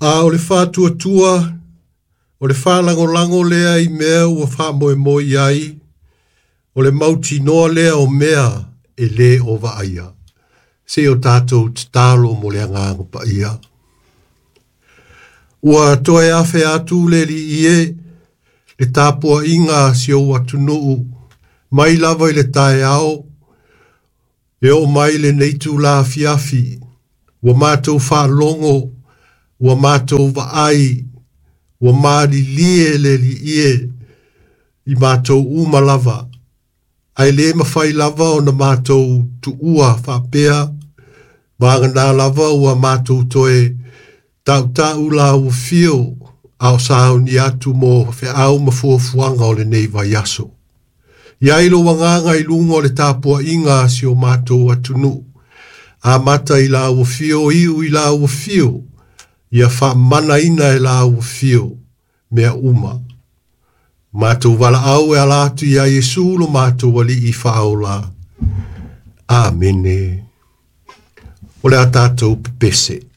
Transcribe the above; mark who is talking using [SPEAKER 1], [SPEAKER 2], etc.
[SPEAKER 1] A o le faatuatua, o le faalagolago lea i mea ua faamoemoe i ai, o le mautinoa lea o mea e lē o vaaia. Se o tatou tatalo mo le agaga paia. Ua toe afe atu le alii e, le tapuaiga a si ou atunuu, mai lava i le taeao, e oo mai lenei itula afiafi, ua matou faalogo, ua matou vaai, ua malilie le alii e, i matou uma lava, ae le mafai lava ona matou tuua faapea, vagana lava ua matou toe tautau la ua fio, a o sauni atu mo feau ma fuafuaga o lenei vaiaso. I ai lou agaga i luga o le tapuaiga a si o matou atunuu, amata i la ua fio, iu i la ua fio, ia faamanaina e la ua fio mea uma. Matou valaau e ala atu ia Iesu lo matou alii faaola. Amene. O le a tatou pepese.